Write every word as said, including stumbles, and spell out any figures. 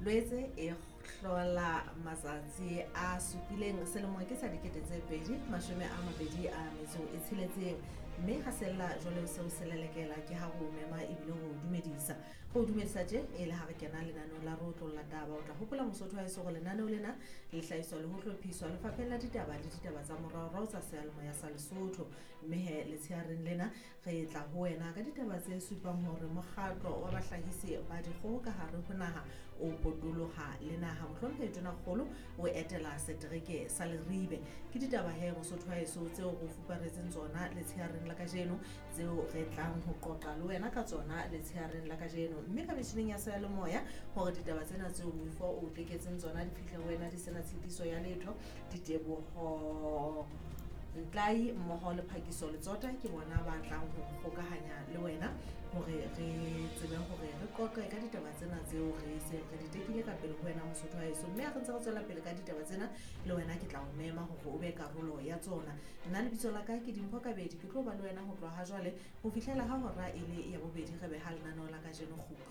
Lwetse e hlola matsatsi a supileng selemo ke sa dikete tse pedi mashome a mabedi a metso e tsheletseng, mme ha sella jwale seo se lelekela ke ha ho mema ebile ho dumedisa. Ho dumedisa tje e le ha re kena lenaneong la re otlolla taba. O tla hopola Mosotho wa heso hore lenaneo lena le hlahiswa le ho hlophiswa Lefapheng la Ditaba le Ditaba tsa Moraorao tsa Seyalemoya sa Lesotho. Mme he letsheareng lena re tla ho wena ka ditaba tse supang hore mokgatlo wa bahlahisi ba dikgoho ka hare ho naha o potoloha le naha. Mohlomphehi Tonakgolo o etela setereke sa Leribe. Ke ditaba he Mosotho wa heso tseo re o fuparetseng tsona letsheareng la kajeno, tseo re tlang ho qoqa le wena ka tsona letsheareng la kajeno. Mme ka metjhining ya seyalemoya hore ditaba tsena tseo moifo o teketseng tsona di fihle ho wena di sena tshitiso ya letho, Diteboho Ntlai mmoho le Phakiso Letsota ke bona ba tlang ho kgokahanya le wena hore re tsebe hore re qoqe ka ditaba tsena tseo re se re di tekile ka pele ho wena Mosotho wa heso. Mme ha re ntse re tswela pele ka ditaba tsena le wena ke tla o mema hore o be karolo ya tsona. Nna lebitso la ka ke Dimpho Kabedi, ke tlo ba le wena ho tloha ha jwale ho fihlela ha hora e le ya bobedi re beha lenaneo la kajeno kgutlo.